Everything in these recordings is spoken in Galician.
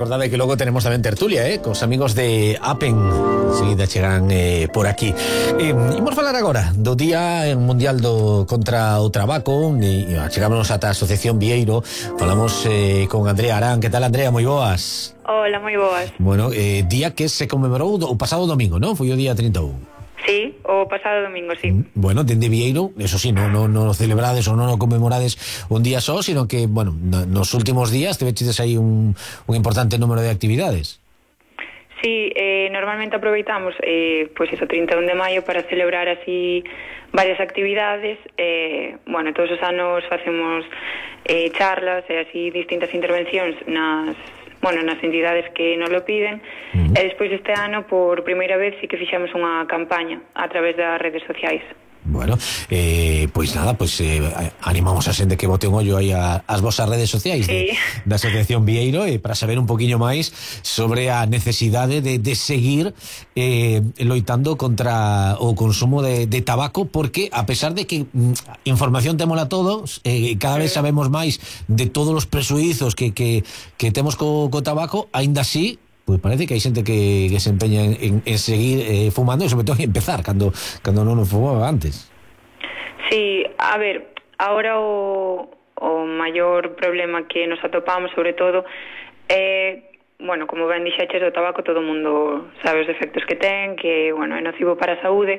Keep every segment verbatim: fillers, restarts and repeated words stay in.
recordade que logo tenemos tamén tertulia, eh, cos amigos de Apen. Seguida chegan eh, por aquí. Eh, imos falar agora do Día Mundial do contra o Tabaco e chegámonos ata a Asociación Vieiro. Falamos eh, con Andrea Arán. Que tal, Andrea? Moi boas. Hola, moi boas. Bueno, eh, día que se conmemorou o pasado domingo, non? Foi o día trinta e un. Sí, o pasado domingo, sí. Bueno, dende Vieiro, eso sí, non no, no celebrades ou non o conmemorades un día só, sino que, bueno, nos últimos días te vechides aí un, un importante número de actividades. Sí, eh, normalmente aproveitamos eh, pues eso, trinta e un de maio para celebrar así varias actividades. Eh, bueno, todos os anos facemos eh, charlas e así distintas intervencións nas bueno, nas entidades que nos lo piden. Uh-huh. E despois este ano, por primeira vez, sí que fixemos unha campaña a través das redes sociais. Bueno, eh, pois nada, pois eh, animamos a xente que bote un ollo aí a, as vosas redes sociais sí. de, da Asociación Vieiro eh, para saber un poquinho máis sobre a necesidade de, de seguir eh, loitando contra o consumo de, de tabaco, porque a pesar de que mm, información témola todos, eh, cada vez sabemos máis de todos os presuizos que, que, que temos co, co tabaco, aínda así pues parece que hai xente que, que se empeña en, en, en seguir eh, fumando e sobre todo en empezar cando, cando non o fumaba antes. Sí, a ver, ahora o, o maior problema que nos atopamos sobre todo é, bueno, como ben dixeches, o tabaco todo o mundo sabe os efectos que ten, que, bueno, é nocivo para a saúde,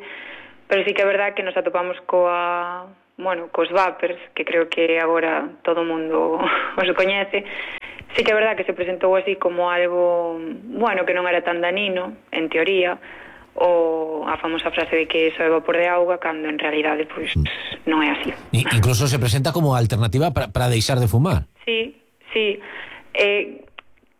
pero sí que é verdad que nos atopamos coa, bueno, cos vapers, que creo que agora todo o mundo os coñece. Sí que é verdad que se presentou así como algo, bueno, que non era tan danino, en teoría, ou a famosa frase de que só é vapor de auga, cando en realidade, pois, non é así. E incluso se presenta como alternativa para, para deixar de fumar. Sí, sí. Eh,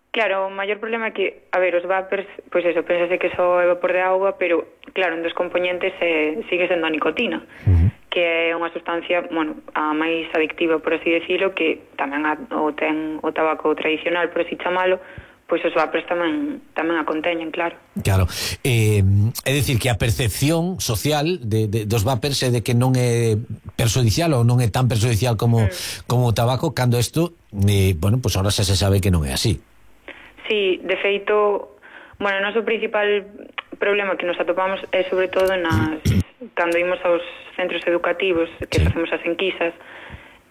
claro, o maior problema é que, a ver, os vapers, pois eso, pensase que só é vapor de auga, pero, claro, un dos componentes eh, sigue sendo a nicotina. Uh-huh. Que é unha sustancia, bueno, a máis adictiva, por así decirlo, que tamén a, o ten o tabaco tradicional, por así chamalo, pois os vapers tamén tamén a conteñen, claro. Claro, eh, é dicir que a percepción social de, de, dos vapers é de que non é perxudicial ou non é tan perxudicial como, mm. como o tabaco, cando isto, eh, bueno, pois ahora xa se sabe que non é así. Sí, de feito, bueno, o noso principal problema que nos atopamos é sobre todo nas cando imos aos centros educativos que sí. facemos as enquisas,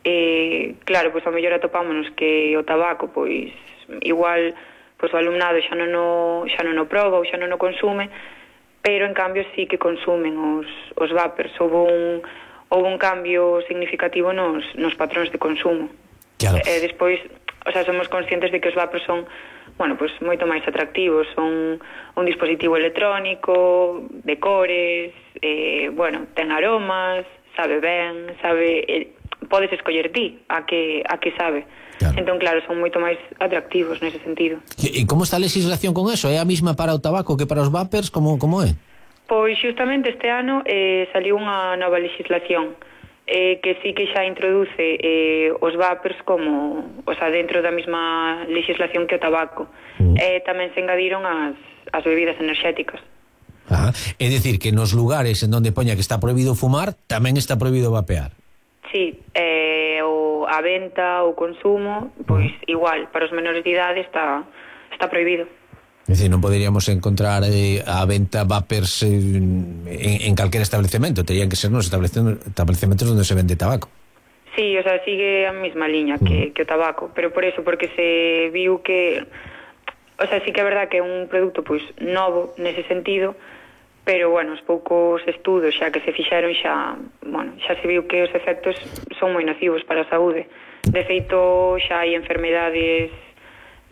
eh, claro, pois ao mellor atopámonos que o tabaco, pois igual pois o alumnado xa non o, xa non o proba ou xa non o consume, pero en cambio sí que consumen os, os vapers. Houve un, houve un cambio significativo nos, nos patróns de consumo. Claro. E despois, o sea, somos conscientes de que os vapers son, bueno, pues moito máis atractivos, son un dispositivo electrónico, de cores, eh, bueno, ten aromas, sabe ben, sabe, eh, podes escoller ti a que a que sabe. Claro. Entón, claro, son moito máis atractivos nese sentido. E como está a legislación con eso? É a mesma para o tabaco que para os vapers? Como, como é? Pois xustamente este ano eh, saliu unha nova legislación eh, que sí que xa introduce eh, os vapers como, o sea, dentro da mesma legislación que o tabaco. Mm. Eh, tamén se engadiron as, as bebidas enerxéticas. Ajá. É dicir que nos lugares en donde poña que está prohibido fumar, tamén está prohibido vapear. Sí, eh, o a venta, o consumo, pois mm. igual, para os menores de idade está, está prohibido. É dicir, non poderíamos encontrar eh, a venta vapers eh, en, en calquer establecemento, terían que ser nos establecementos onde se vende tabaco. Sí, o sea, sigue a mesma liña que, mm. que o tabaco, pero por eso, porque se viu que, o sea, sí que é verdad que é un produto pois novo nese sentido, pero, bueno, os poucos estudos xa que se fixeron xa, bueno, xa se viu que os efectos son moi nocivos para a saúde. De feito, xa hai enfermedades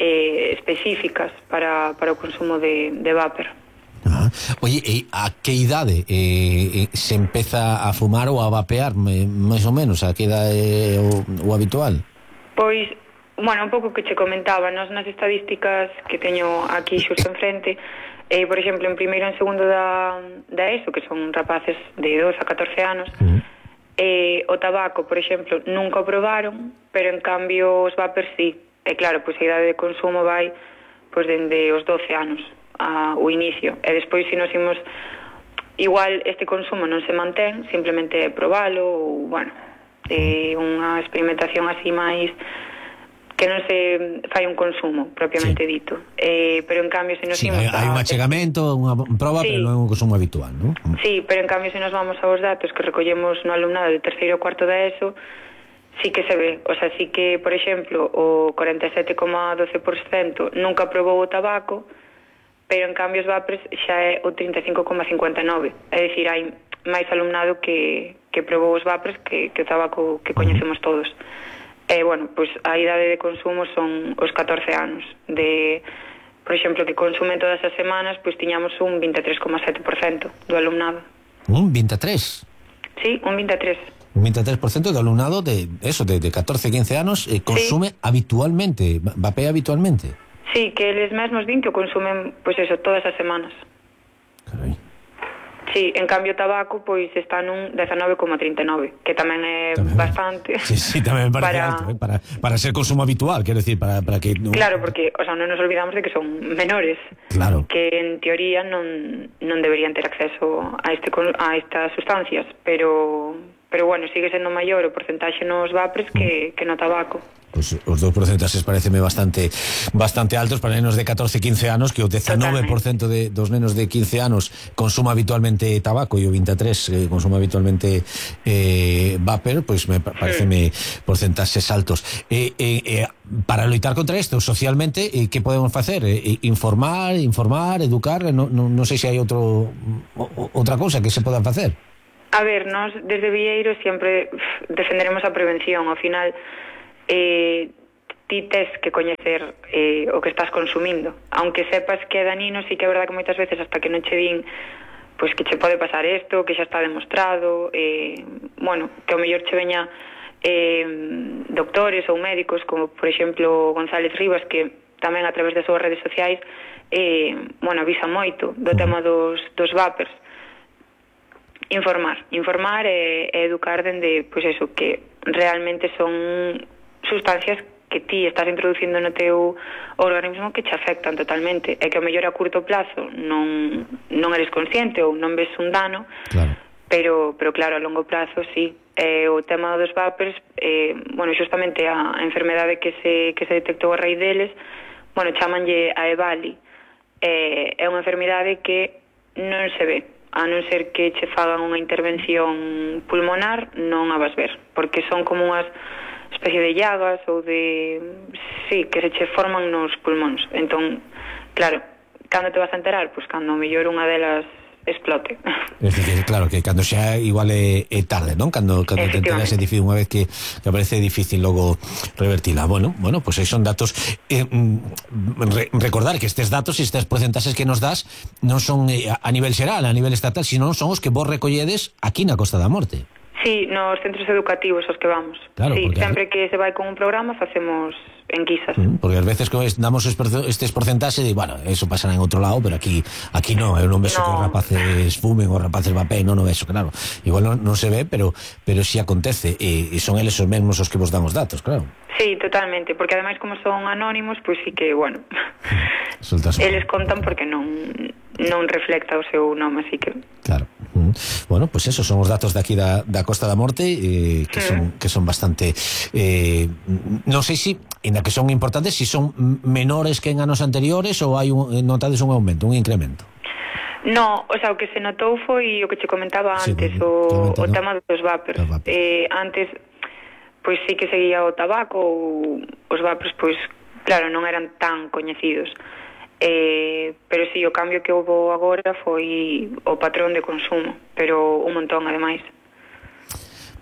eh, específicas para, para o consumo de, de vapor. Ah. Oye, e a que idade eh, se empeza a fumar ou a vapear, máis ou menos? A que idade é o, o habitual? Pois, bueno, un pouco que che comentaba, nos nas estadísticas que teño aquí xusto enfrente, eh, por exemplo, en primeiro e en segundo da, da ESO, que son rapaces de doce a catorce anos, uh-huh. eh, o tabaco, por exemplo, nunca o probaron, pero en cambio os vapers sí. E claro, pois a idade de consumo vai pois dende os doce anos a, o inicio, e despois se nos imos, igual este consumo non se mantén, simplemente probalo, ou, bueno, eh, unha experimentación así máis que non se fai un consumo propiamente sí. dito, eh, pero en cambio se nos sí, imos hai, hai un achegamento, unha proba, sí. pero non é un consumo habitual, non? Sí, pero en cambio se nos vamos aos datos que recollemos no alumnado de terceiro ou cuarto da ESO, sí que se ve, o sea, sí que, por exemplo, o cuarenta e sete coma doce por cento nunca probou o tabaco, pero en cambio os vapers xa é o trinta e cinco coma cincuenta e nove, é dicir, hai máis alumnado que, que probou os vapers que, que o tabaco que coñecemos todos. E, bueno, pois a idade de consumo son os catorce anos. De, por exemplo, que consumen todas as semanas, pois tiñamos un vinte e tres coma sete por cento do alumnado. Un vinte e tres? Sí, un vinte e tres. Un vinte e tres por cento do alumnado de eso, de, de catorce a quince anos, eh, consume sí. habitualmente, vapea habitualmente. Sí, que eles mesmos din que o consumen, pois eso, todas as semanas. Carai. Sí, en cambio o tabaco pois está nun dezanove coma trinta e nove, que tamén é tamén, bastante. Sí, sí, tamén me parece para... alto, eh? para, para ser consumo habitual, quero decir, para, para que... No... Claro, porque, o sea, non nos olvidamos de que son menores, claro. que en teoría non, non deberían ter acceso a, este, a estas sustancias, pero... pero bueno, sigue sendo maior o porcentaxe nos vapers que, que no tabaco. Pues os dos porcentaxes pareceme bastante bastante altos para nenos de catorce a quince anos, que o dezanove por cento de, dos nenos de quince anos consuma habitualmente tabaco e o vinte e tres por cento eh, consuma habitualmente eh, vapor, pois pues me pareceme sí. porcentaxes altos. Eh, eh, eh, para loitar contra isto, socialmente, eh, que podemos facer? Eh, informar, informar, educar, non no, no sei se hai outro o, outra cousa que se poda facer. A ver, nós desde Vieiro sempre defenderemos a prevención. Ao final, eh, ti tes que coñecer eh, o que estás consumindo. Aunque sepas que é danino, sí que é verdad que moitas veces hasta que non che din pois que che pode pasar isto, que xa está demostrado, eh, bueno, que ao mellor che veña eh, doctores ou médicos, como por exemplo González Rivas, que tamén a través das súas redes sociais eh, bueno, avisa moito do tema dos, dos vapers. Informar, informar e, e educar dende, pois eso, que realmente son sustancias que ti estás introducindo no teu organismo que che afectan totalmente, e que ao mellor a curto plazo non, non eres consciente ou non ves un dano, claro. pero, pero claro, a longo plazo sí. E o tema dos vapers, eh, bueno, justamente a, a enfermedade que se, que se detectou a raíz deles, bueno, chamanlle a EVALI, eh, é unha enfermidade que non se ve, a non ser que che fagan unha intervención pulmonar, non a vas ver, porque son como unhas especie de llagas ou de... sí, que se che forman nos pulmóns. Entón, claro, cando te vas a enterar? Pois cando mellor unha delas explote. Es decir, claro, que cando xa igual é, é tarde, non? Cando, cando te enteras é difícil, unha vez que, que aparece difícil logo revertila. Bueno, bueno, pues aí son datos eh, re, recordar que estes datos e estes porcentaxes que nos das non son eh, a nivel xeral, a nivel estatal, sino son os que vos recolledes aquí na Costa da Morte. Sí, nos centros educativos aos que vamos. Claro, sí, porque... sempre que se vai con un programa facemos enquisas. Mm, porque ás veces que damos estes porcentaxes e, bueno, eso pasará en outro lado, pero aquí aquí non, eu non vexo no. que os rapaces fumen, os rapaces vapeen, non o vexo, claro. Igual non, non se ve, pero pero si acontece, e, e son eles os mesmos os que vos dan os datos, claro. Sí, totalmente, porque ademais como son anónimos, pois pues sí que, bueno, eles contan porque non non reflecta o seu nome, así que... Claro. Mm. Bueno, pues esos son os datos de aquí da, da Costa da Morte, eh, que, mm. son, que son bastante... Eh, non sei se, ainda que son importantes, si son menores que en anos anteriores ou hai un, notades un aumento, un incremento? No, o sea, o que se notou foi o que che comentaba antes, sí, o, o tema dos vapers. Vapers. Eh, antes, pois sí que seguía o tabaco, ou os vapers, pois, claro, non eran tan coñecidos. Eh, pero sí, o cambio que houve agora foi o patrón de consumo, pero un montón ademais.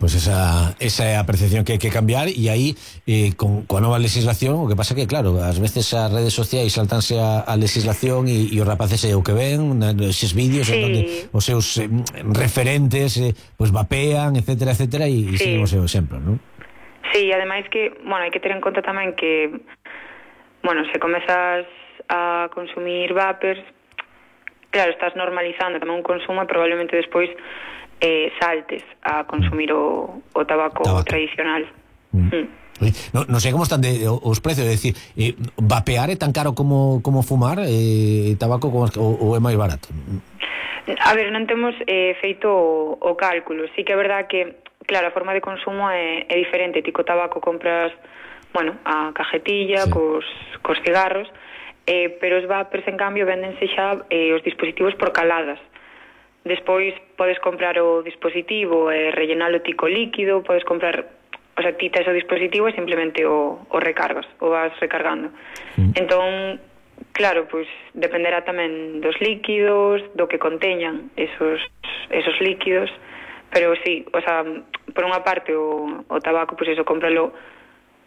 Pois pues esa, esa é a percepción que hai que cambiar, e aí eh, con, con a nova legislación o que pasa que, claro, ás veces as redes sociais saltanse a, a legislación e, e os rapaces é o que ven eses vídeos sí. onde os seus eh, referentes eh, pues vapean, etcétera, etcétera, e, e sí. siguen o seu exemplo, non? Sí, ademais que, bueno, hai que ter en conta tamén que, bueno, se comezas a consumir vapers, claro, estás normalizando tamén un consumo e probablemente despois eh, saltes a consumir o, o tabaco, tabaco tradicional. Mm. Mm. No, non sei como están de, os precios, é dicir, eh, vapear é tan caro como, como fumar, eh, tabaco como, ou, ou é máis barato? A ver, non temos eh, feito o, o cálculo. Sí que é verdad que, claro, a forma de consumo é, é diferente. Ti co tabaco compras bueno, a cajetilla, sí. cos, cos cigarros, eh, pero os vapers, en cambio, véndense xa eh, os dispositivos por caladas. Despois podes comprar o dispositivo e eh, rellenalo ti co líquido, podes comprar, o sea, ti tes o dispositivo e simplemente o, o recargas, o vas recargando. Mm. Entón, claro, pois dependerá tamén dos líquidos, do que conteñan esos, esos líquidos, pero sí, o sea, por unha parte o, o tabaco, pois eso, cómpralo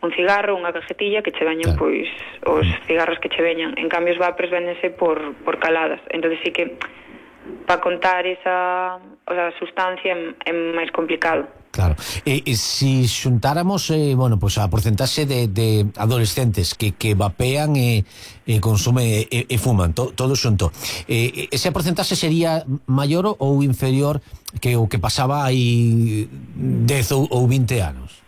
un cigarro, unha cajetilla que che veñan, claro, pois os cigarros que che veñan. En cambio os vapers véndense por, por caladas, entón sí que para contar esa, o sea, sustancia é máis complicado. Claro. E, e si xuntáramos, eh, bueno, pues a porcentaxe de, de adolescentes que, que vapean e, e consumen e, e fuman, to, todo xunto, eh, ese porcentaxe sería maior ou inferior que o que pasaba hai dez ou, ou vinte anos?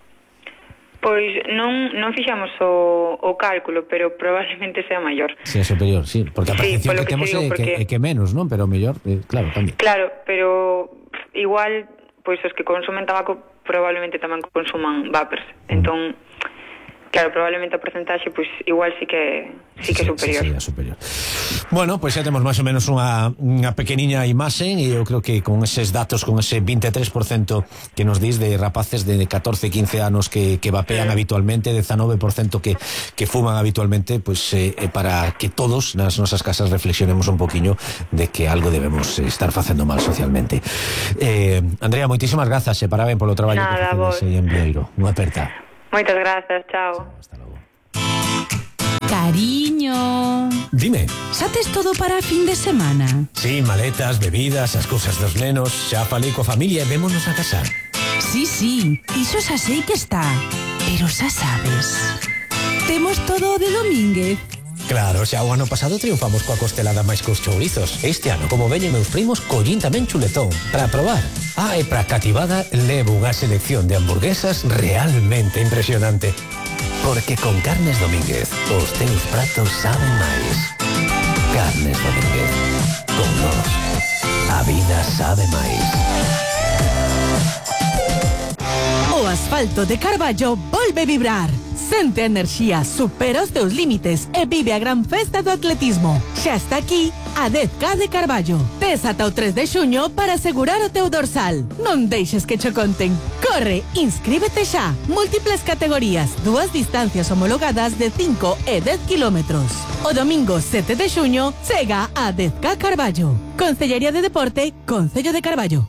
Pois non, non fixamos o, o cálculo, pero probablemente sea maior. Sea superior, sí, porque a percepción sí, que, que temos é porque... que, que menos, non? Pero mellor, eh, claro, tamén. Claro, pero igual, pois os que consumen tabaco probablemente tamén consuman vapers. Mm. Entón, claro, probablemente a porcentaxe, pois igual sí que sí que é superior. Sí, sí, superior. Bueno, pois pues xa temos máis ou menos unha, unha pequeniña imaxe, e eu creo que con eses datos, con ese vinte e tres por cento que nos dís de rapaces de catorce, quince anos que, que vapean sí. habitualmente, dezanove por cento que, que fuman habitualmente, pois pues, eh, para que todos nas nosas casas reflexionemos un poquinho de que algo debemos estar facendo mal socialmente. Eh, Andrea, moitísimas grazas e parabén polo traballo Nada, que facedes aí en Vieiro. Unha aperta. Moitas grazas, chao. Chao, hasta logo. Cariño, dime. Xa tes todo para a fin de semana? Sí, maletas, bebidas, as cousas dos nenos. Xa falei coa familia e vémonos a casar. Sí, sí, iso xa sei que está. Pero xa sabes, temos todo o de Domínguez. Claro, xa o ano pasado triunfamos coa costelada máis cos chourizos. Este ano, como veñen meus primos, collín tamén chuletón para probar. Ah, e para cativada levo unha selección de hamburguesas realmente impresionante. Porque con Carnes Domínguez os teus pratos saben máis. Carnes Domínguez. Con nós, a vida sabe máis. O asfalto de Carballo volve vibrar. Sente a enerxía, supera os teus límites e vive a gran festa do atletismo. Xa está aquí a dez K de Carballo. Tes ata o tres de xuño para asegurar o teu dorsal. Non deixes que cho conten. Corre, inscríbete xa. Múltiples categorías, dúas distancias homologadas de cinco e dez kilómetros. O domingo sete de xuño chega a dez K Carballo. Concellería de Deporte, Concello de Carballo.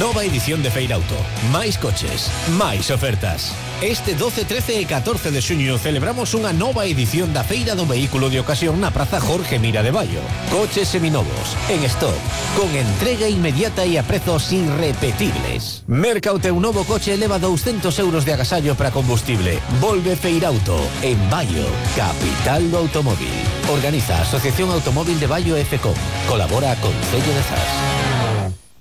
Nova edición de Feira Auto. Máis coches, máis ofertas. Este doce, trece e catorce de xuño celebramos unha nova edición da Feira do Vehículo de Ocasión na Praza Jorge Mira de Baio. Coches seminovos, en stock, con entrega inmediata e a prezos irrepetibles. Merca o teu novo coche e leva douscentos euros de agasallo para combustible. Volve Feirauto, en Baio, capital do automóvil. Organiza a Asociación Automóvil de Baio e FECOM. Colabora a Concello de Zas.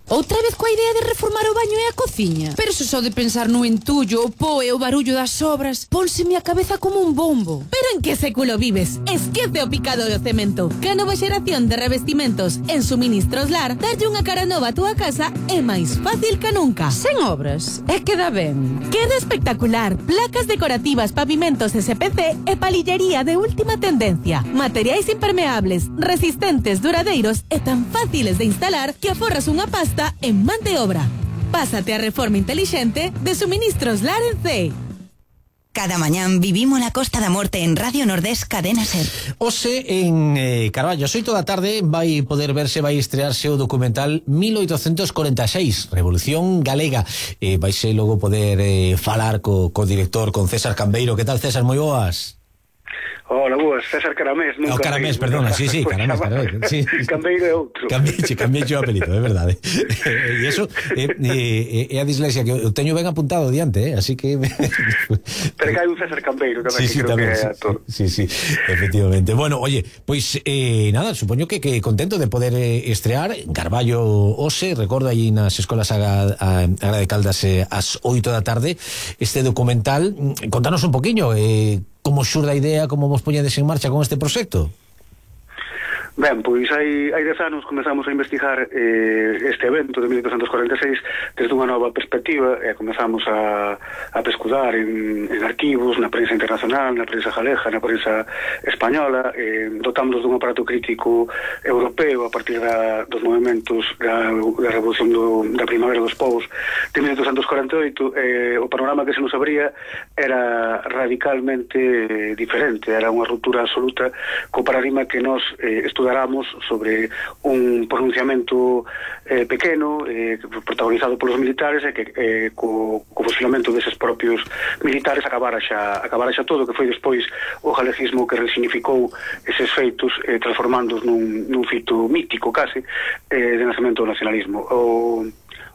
Outra vez coa idea de reformar o baño e a cociña? Pero se só de pensar no entullo, o po e o barullo das obras, pónseme a cabeza como un bombo. Pero en que século vives? Esquece o picado do cemento. Que a nova xeración de revestimentos en Suministros Lar darlle unha cara nova a túa casa é máis fácil que nunca. Sen obras, e queda ben. Queda espectacular. Placas decorativas, pavimentos S P C e palillería de última tendencia. Materiais impermeables, resistentes, duradeiros e tan fáciles de instalar que aforras unha pasta en man de obra. Pásate a reforma intelixente de Suministros Lar en C. Cada mañán vivimos la Costa da Morte en Radio Nordés Cadena Ser. Ose en eh, Carballo, as oito da tarde vai poder verse, vai estrearse o documental mil oitocentos corenta e seis, Revolución Galega. Eh, vaise logo poder eh, falar co, co director, con César Cambeiro. Que tal, César? Moi boas. Hola, boas, César Caramés. O Caramés, perdona, sí, sí, Caramés, Caramés. Sí. Cambeiro é outro. Cambiache, cambiache o apelido, é verdade. E iso é eh, eh, a dislexia que eu teño ben apuntado diante, eh, así que... Pero que hai un César Cambeiro tamén, sí, que sí, creo tamén, que é sí, actor. Sí, sí, efectivamente. Bueno, oye, pois pues, eh, nada, supoño que, que contento de poder eh, estrear en Carballo Ose, recordo aí nas escolas Agra, a, Agra de Caldas eh, ás oito da tarde, este documental. Contanos un poquinho, eh, como xurde a idea, como vos poñedes en marcha con este proxecto? Ben, pois hai, hai dez anos comezamos a investigar eh, este evento de mil oitocentos cuarenta e seis desde unha nova perspectiva e comezamos a, a pescudar en, en arquivos, na prensa internacional, na prensa galega, na prensa española, eh, dotamos dun aparato crítico europeo a partir da, dos movimentos da, da revolución do, da primavera dos povos de mil oitocentos cuarenta e oito. Eh, o panorama que se nos abría era radicalmente eh, diferente, era unha ruptura absoluta co paradigma que nos eh, estudáramos sobre un pronunciamento eh, pequeno, eh, protagonizado polos militares, e que eh, co, co fusilamento deses propios militares acabara xa, acabara xa todo, que foi despois o galegismo que resignificou eses feitos, eh, transformándoos nun, nun fito mítico case eh, de nacemento do nacionalismo. O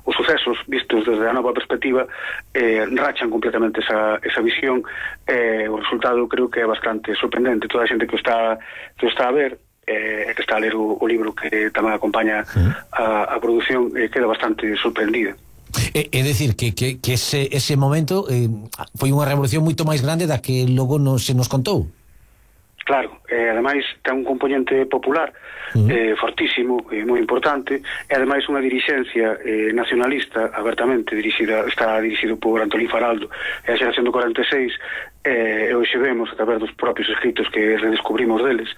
os sucesos vistos desde a nova perspectiva eh, rachan completamente esa, esa visión. Eh, o resultado creo que é bastante sorprendente. Toda a xente que o está, que o está a ver e eh, que está a ler o, o libro que tamén acompaña a, a produción eh, queda bastante sorprendida. É, é decir, que, que, que ese, ese momento eh, foi unha revolución moito máis grande da que logo non se nos contou. Claro, e ademais ten un componente popular uh-huh. eh, fortísimo e moi importante, e ademais unha dirixencia eh, nacionalista abertamente dirixida, está dirixido por Antolín Faraldo e a xeración do cuarenta e seis, eh, e hoxe vemos a través dos propios escritos que redescubrimos deles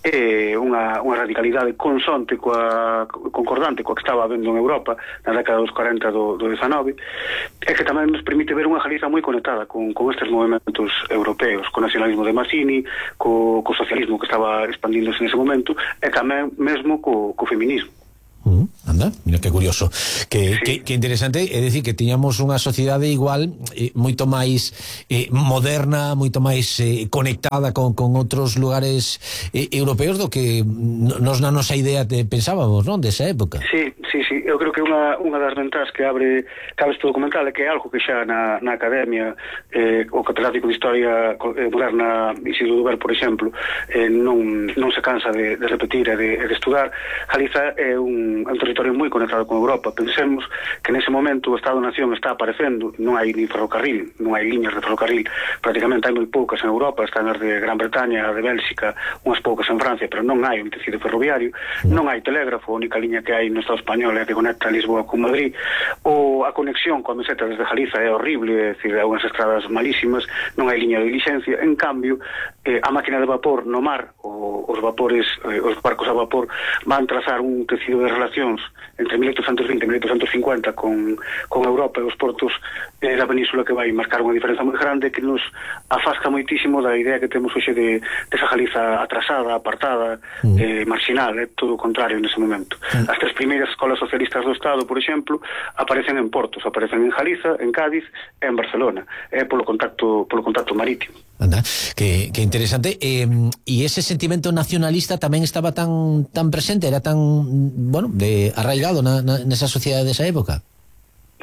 eh, unha, unha radicalidade consonte coa, concordante coa que estaba habendo en Europa na década dos cuarenta do, do dezanove, e que tamén nos permite ver unha Galiza moi conectada con, con estes movimentos europeos, co nacionalismo de Mazzini, co, co socialismo que estaba expandíndose nese momento, e tamén mesmo co, co feminismo. Uh, anda, mira que curioso, que, sí. que, que interesante, é dicir que tiñamos unha sociedade igual eh, moito máis eh, moderna, moito máis eh, conectada con, con outros lugares eh, europeos do que nos na nosa idea te pensábamos, non, desa época. Sí, sí, sí, eu creo que unha, unha das ventas que abre, que abre este documental é que é algo que xa na, na academia eh, o catedrático de Historia Moderna Isidro Duber, por exemplo, eh, non, non se cansa de, de repetir e de, de estudar. Galiza é un un territorio moi conectado con Europa. Pensemos que nese momento o Estado-Nación está aparecendo, non hai nin ferrocarril, non hai liñas de ferrocarril, prácticamente hai moi poucas en Europa, están as de Gran Bretaña, de Bélxica, unhas poucas en Francia, pero non hai un tecido ferroviario, non hai telégrafo, a única liña que hai no Estado español é que conecta Lisboa con Madrid, ou a conexión coa meseta desde Galiza é horrible, é dicir, hai unhas estradas malísimas, non hai liña de diligencia. En cambio, eh, a máquina de vapor no mar, o, os vapores, eh, os barcos a vapor van trazar un tecido de relacións entre mil oitocentos vinte e mil oitocentos cincuenta con, con Europa e os portos eh, da península, que vai marcar unha diferenza moi grande que nos afasca moitísimo da idea que temos hoxe de, de esa Galiza atrasada, apartada, mm. eh, marginal, é eh, todo o contrario nese momento. Mm. As tres primeiras escolas socialistas do Estado, por exemplo, aparecen en portos, aparecen en Galiza, en Cádiz e en Barcelona, é eh, polo contacto polo contacto marítimo. Anda, que, que interesante. E eh, ese sentimento nacionalista tamén estaba tan tan presente, era tan, bueno, de arraigado na, na, nesa sociedade desa época.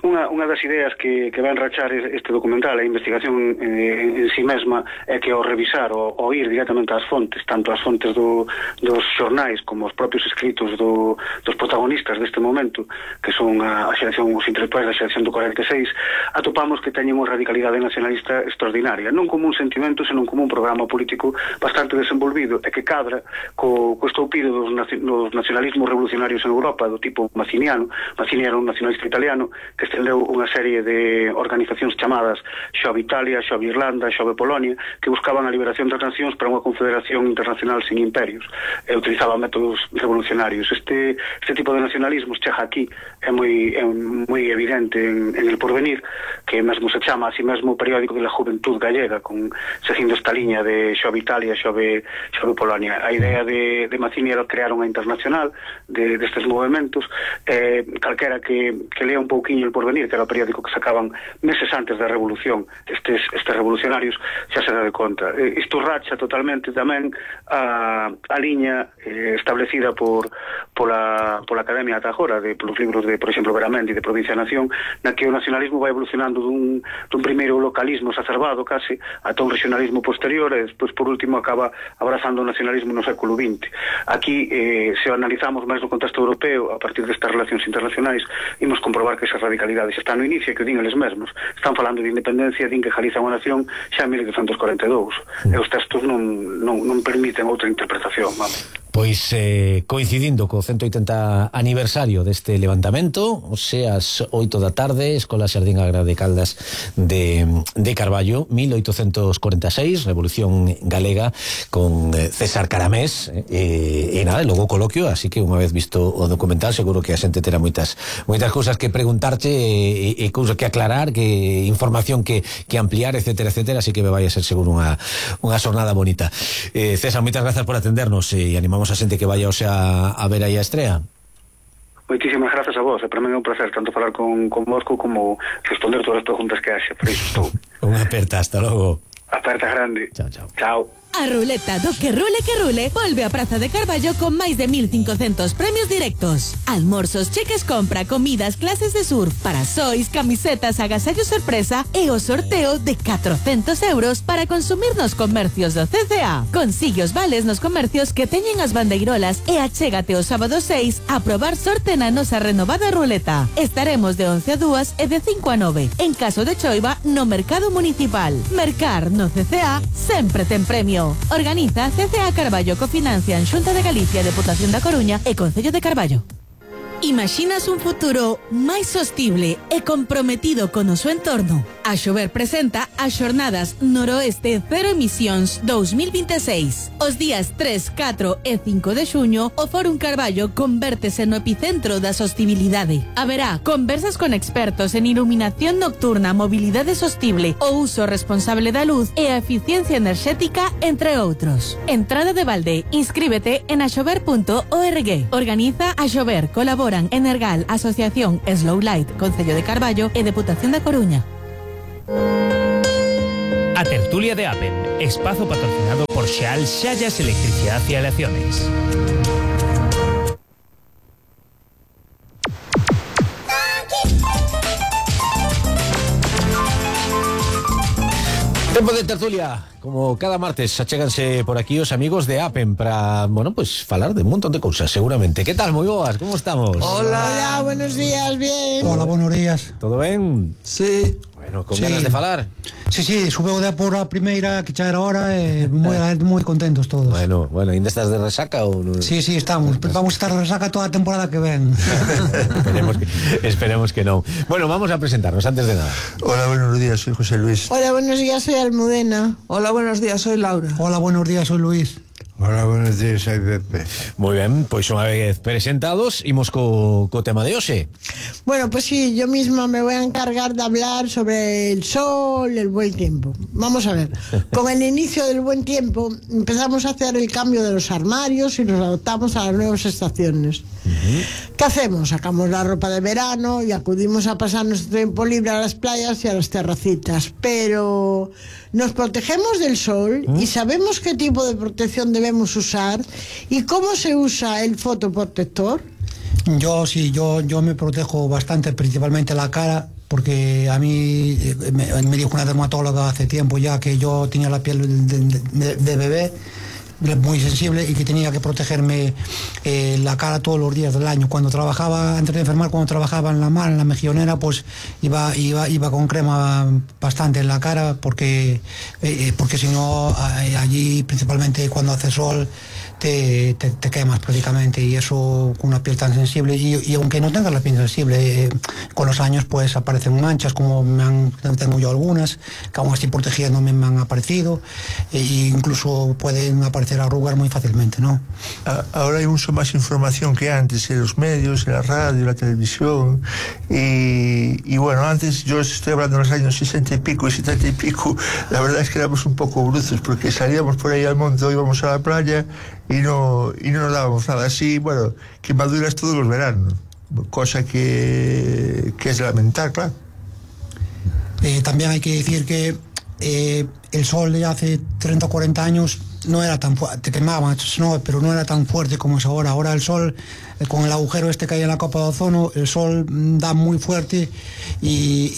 Unha, unha das ideas que, que van rachar este documental, a investigación eh, en si mesma, é que ao revisar, ou ao ir directamente ás fontes, tanto as fontes do, dos xornais como os propios escritos do, dos protagonistas deste momento, que son a, a xeración, os intelectuais da xeración do cuarenta e seis, atopamos que teñen unha radicalidade nacionalista extraordinaria, non como un sentimento, senón como un programa político bastante desenvolvido, e que cadra co, co estoupido dos, dos nacionalismos revolucionarios en Europa, do tipo mazziniano. Mazzini era un nacionalista italiano que estendeu unha serie de organizacións chamadas Xove Italia, Xove Irlanda, Xove Polonia, que buscaban a liberación das nacións para unha confederación internacional sin imperios, e utilizaban métodos revolucionarios. Este, este tipo de nacionalismos chega aquí, é moi, é moi evidente en, en El Porvenir, que mesmo se chama así mesmo o periódico de la Juventud Gallega, con, seguindo esta liña de Xove Italia, Xove, Xove Polonia. A idea de, de Mazzini era crear unha internacional de, destes movimentos, eh, calquera que, que lea un pouquiño El Porvenir, que era o periódico que sacaban meses antes da revolución, estes, estes revolucionarios, xa se dá de conta. Eh, isto racha totalmente tamén a, a liña eh, establecida por pola, pola Academia ata agora, de, polos libros de, por exemplo, Veramendi, de Provincia e Nación, na que o nacionalismo vai evolucionando dun, dun primeiro localismo exacerbado case ata un regionalismo posterior, e despois por último acaba abrazando o nacionalismo no século vinte. Aquí, eh, se analizamos máis no contexto europeo, a partir destas relacións internacionais, imos comprobar que esa radicalidade xa está no inicio, que din eles mesmos. Están falando de independencia, din que Galiza é unha nación xa en mil oitocentos cuarenta e dous. E os textos non, non, non permiten outra interpretación, vamos. Pois eh, coincidindo co ciento oitenta aniversario deste levantamento, o sea, as oito da tarde, Escola Xardín Agra de Caldas de, de Carballo, mil oitocentos cuarenta e seis, Revolución Galega, con eh, César Caramés, e, e nada, logo coloquio, así que unha vez visto o documental, seguro que a xente terá moitas moitas cousas que preguntarte e, e cousas que aclarar, que información que, que ampliar, etcétera, etcétera, así que me vai a ser seguro unha, unha xornada bonita. Eh, César, moitas grazas por atendernos e animamos a xente que vaya o sea a ver aí a estrea. Moitísimas grazas a vos, e para mí é un placer tanto falar con, con vosco como responder todas as preguntas que haxe, por iso estou. Unha aperta, hasta logo. Aperta grande. Chao, chao. Chao. A ruleta do que rule que rule volve a Praza de Carballo con máis de mil cincocentos premios directos. Almorzos, cheques compra, comidas, clases de surf, parasois, camisetas, agasallos sorpresa e o sorteo de catrocentos euros para consumir nos comercios do C C A. Consigue os vales nos comercios que teñen as bandeirolas e achégate o sábado seis a probar sorte na nosa renovada ruleta. Estaremos de once a dúas e de cinco a nove. En caso de choiva, no Mercado Municipal. Mercar no C C A sempre ten premio. Organiza C C A Carballo, cofinancian Xunta de Galicia, Deputación da Coruña e Concello de Carballo. Imaginas un futuro máis sostible e comprometido con o seu entorno? A Xover presenta as Xornadas Noroeste Cero Emisións dos mil veintiséis. Os días tres, catro e cinco de xuño, o Fórum Carballo convértese no epicentro da sostibilidade. Haberá conversas con expertos en iluminación nocturna, mobilidade sostible, o uso responsable da luz e a eficiencia enerxética, entre outros. Entrada de balde. Inscríbete en axover punto org. Organiza a Xover. Colabora Energal, Asociación Slow Light, Concello de Carballo e Deputación da Coruña. A tertulia de Apen, espazo patrocinado por Xeal Xallas Electricidad y Aleaciones. Tempo de tertulia, como cada martes achéganse por aquí os amigos de Apen para, bueno, pues falar de un montón de cousas, seguramente. ¿Qué tal, moi boas? ¿Cómo estamos? Hola. Hola, buenos días, bien. Hola, buenos días. ¿Todo ben? Sí. Bueno, con sí. ganas de falar. Sí, sí, subeu de por a primeira que xa era hora e moi, moi contentos todos. Bueno, bueno, ainda estás de resaca ou non? Sí, sí, estamos. Vamos a estar de resaca toda a temporada que ven. esperemos, que, esperemos que non. Bueno, vamos a presentarnos antes de nada. Hola, buenos días, soy José Luis. Hola, buenos días, soy Almudena. Hola, buenos días, soy Laura. Hola, buenos días, soy Luis. Hola, buenos días, soy Pepe. Muy bien, pois pues unha vez presentados, imos co, co tema de hoxe. Bueno, pues sí, yo misma me voy a encargar de hablar sobre el sol, el buen tiempo. Vamos a ver, con el inicio del buen tiempo empezamos a hacer el cambio de los armarios y nos adaptamos a las nuevas estaciones. Uh-huh. ¿Qué hacemos? Sacamos la ropa de verano y acudimos a pasar nuestro tiempo libre a las playas y a las terracitas, pero nos protegemos del sol ¿Mm? y sabemos qué tipo de protección debemos usar y cómo se usa el fotoprotector. Yo sí, yo, yo me protejo bastante, principalmente la cara, porque a mí me, me dijo una dermatóloga hace tiempo ya que yo tenía la piel de, de, de bebé muy sensible y que tenía que protegerme eh, la cara todos los días del año. Cuando trabajaba, antes de enfermar, cuando trabajaba en la mar, en la mejillonera, pues iba iba iba con crema bastante en la cara porque eh, porque si no allí, principalmente cuando hace sol, te, te, te quemas prácticamente, y eso con una piel tan sensible, y, y aunque no tengas la piel sensible, eh, con los años pues aparecen manchas, como me han, tengo yo algunas, que aún así protegiéndome me han aparecido, e incluso pueden aparecer arrugas muy fácilmente, ¿no? Ahora hay mucho más información que antes en los medios, en la radio, en la televisión, y, y bueno, antes, yo estoy hablando de los años sesenta y pico y setenta y pico, la verdad es que éramos un poco brutos, porque salíamos por ahí al monte, íbamos a la playa y no, y no nos dábamos nada. Así, bueno, quemaduras todos los veranos, cosa que, que es de lamentar, claro. Eh, también hay que decir que eh, el sol de hace treinta o cuarenta años no era tan fuerte, te quemaba, no, pero no era tan fuerte como es ahora. Ahora el sol, eh, con el agujero este que hay en la capa de ozono, el sol da muy fuerte, y,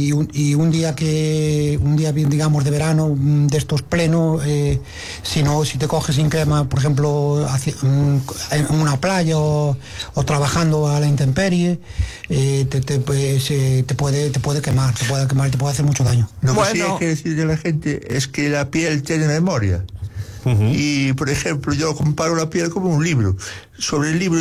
y, un, y un día que, un día digamos de verano, de estos pleno, eh, si no, si te coges sin crema, por ejemplo, hacia, en una playa o, o trabajando a la intemperie, eh, te, te, pues, eh, te puede, te puede quemar, te puede quemar, te puede hacer mucho daño. Lo que bueno. sí hay que decir de la gente es que la piel tiene memoria. Uh-huh. Y, por ejemplo, yo comparo la piel como un libro. Sobre el libro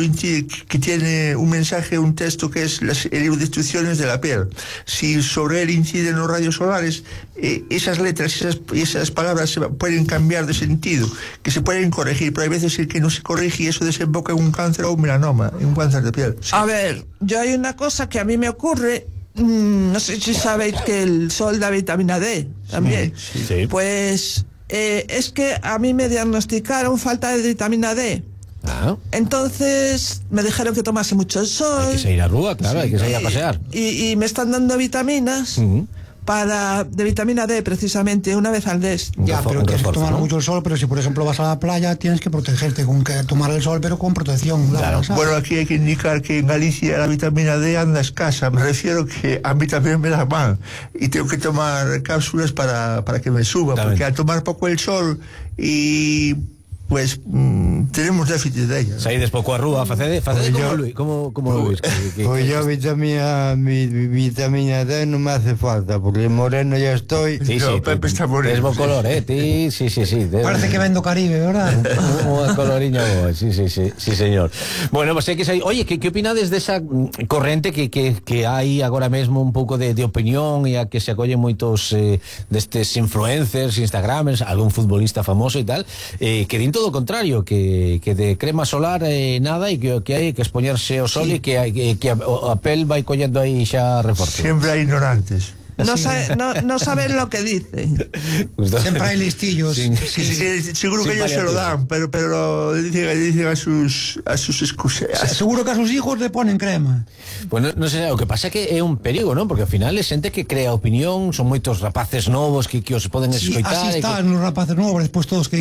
que tiene un mensaje, un texto que es las, el libro de instrucciones de la piel. Si sobre él inciden los rayos solares, eh, esas letras, esas, esas palabras se pueden cambiar de sentido, que se pueden corregir, pero hay veces el que no se corrige y eso desemboca en un cáncer o un melanoma, en un cáncer de piel. Sí. A ver, yo hay una cosa que a mí me ocurre, mmm, no sé si sabéis que el sol da vitamina D también. Sí, sí. Pues eh, es que a mí me diagnosticaron falta de vitamina D. Ah. Entonces me dijeron que tomase mucho el sol. Hay que salir a rúa, claro, sí, hay que salir a pasear. Y, y me están dando vitaminas uh-huh. para de vitamina D precisamente una vez al mes. Ya, pero tienes que tomar ¿no? mucho el sol, pero si por ejemplo vas a la playa tienes que protegerte con que tomar el sol, pero con protección. Claro. Bueno, aquí hay que indicar que en Galicia la vitamina D anda escasa. Me refiero que a mí también me la van y tengo que tomar cápsulas para, para que me suba, también. Porque al tomar poco el sol y pues mmm, tenemos déficit de ella. Saides pouco a rúa, facede, facede como Luis, como como Luis. Pues yo vitamina mi, vitamina D no me hace falta porque moreno ya estoy. Sí, no, sí, Pepe está moreno. Es buen color, eh, ti, sí, sí, sí. De, Parece que vendo Caribe, ¿verdad? Un coloriño, sí, sí, sí, sí, señor. Bueno, pues hai que sair. Oye, que que opinades desa corrente que que que hai agora mesmo un pouco de de opinión e a que se acollen moitos eh, destes influencers, instagramers, algún futbolista famoso e tal, eh, que din todo o contrario, que, que de crema solar eh, nada e que, que hai que expoñerse ao sol sí. e que, que, que a, a pel vai collendo aí xa reforzo. Sempre hai ignorantes. No, sabe, no, no saben lo que dicen. Siempre hay listillos. Sí, sí, sí, sí, seguro que ellos se lo dan, pero, pero dicen, dicen a sus a sus excusas. Seguro que a sus hijos le ponen crema. Pues no, no sé, o que pasa que é un perigo, non? Porque ao final é xente que crea opinión, son moitos rapaces novos que, que os poden escoitar. Sí, así están que... los rapaces novos, despois todos que